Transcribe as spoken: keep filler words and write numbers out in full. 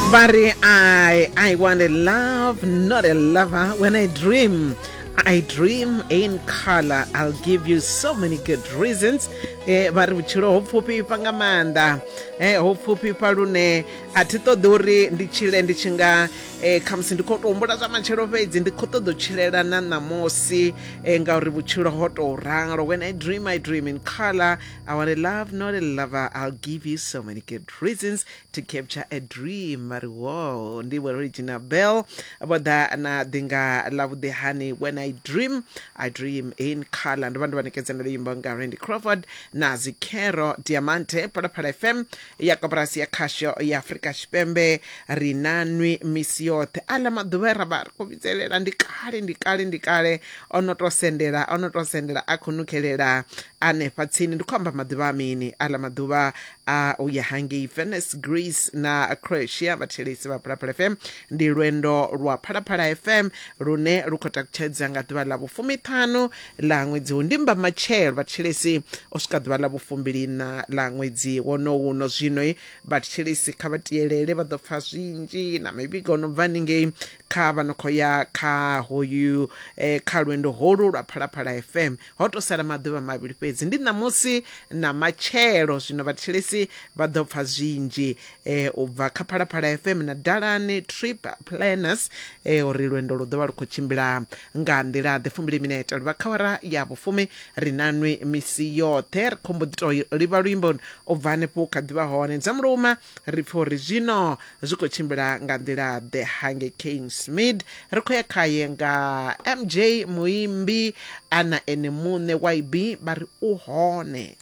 Vha ri I, I want a love, not a lover. When I dream, I dream in color. I'll give you so many good reasons. Eh, vha ri vhutshilo ho pfufhifha nga maanḓa, eh, ho pfufhifha lune a thi ṱoḓi uri ndi tshile ndi tshi nga eh, khamusi ndi khou tou humbula zwa matshelo fhedzi, ndi khou ṱoḓa u tshilela na ṋamusi, eh, ngauri vhutshilo ho tou ralo. When I dream, I dream in color. I want a love, not a lover. I'll give you so many good reasons to capture a dream. Vha ri wo ndi vho Regina Bell vho ḓa na ḓinga ḽa vhuḓi hani. When I dream, I dream in color. Ndo vha ndo vha ṋekedza na luimbo nga Randy Crawford na Zikero Diamante. Phalaphala F M ya koporasi ya khasho ya Afrika Tshipembe, ri na nwi misi yoṱhe. Aḽa maḓuvha e ra vha ri khou vhidzelela ndi kale, ndi kale, ndi kale, o no to sendela, o no to sendela, a khou nukhelela anefha tsini. Ndi khou amba maḓuvha a mini? Aḽa maḓuvha a u ya hangei Venice, Greece na Croatia. Vhathelesi vha Phalaphala F M, ndi lwendo lwa Phalaphala F M lune lu khou takutshedza nga ḓuvha ḽa vhufumiṱhanu ḽa ṅwedzi hu ndimba matshelo, vhathelesi, u swika ḓuvha ḽa vhufumbilina ḽa ṅwedzi wono uno. Zwino vhathelesi kha vha tielele, vha ḓo pfa zwinzhi na mivhigo no bva haningei kha vha no khou ya kha hoyu eh, kha lwendo holu lwa Phalaphala F M. Ho to sala maḓuvha mavhili fhedzi, ndi ṋamusi na matshelo. Zwino vhathelesi vha ḓo pfa zwinzhi eh, u bva kha Phalaphala F M na Dalani Trip Planners, eh, uri lwendo lu ḓo vha lu khou tshimbila nga nḓila ḓe. Fumbili minete luvha kha wara ya vhufumi. Ri na nwi misi yoṱhe. Ri khou mbo ḓi to livha luimbo u bva hanefho kha ḓivha hone dza muluma, ri pfha uri zwino zwi khou tshimbila nga nḓila ḓe hangei Kingsmead. Ri khou ya khaye nga M J, muimbi ana ene muṋe Y B, vha ri u hone.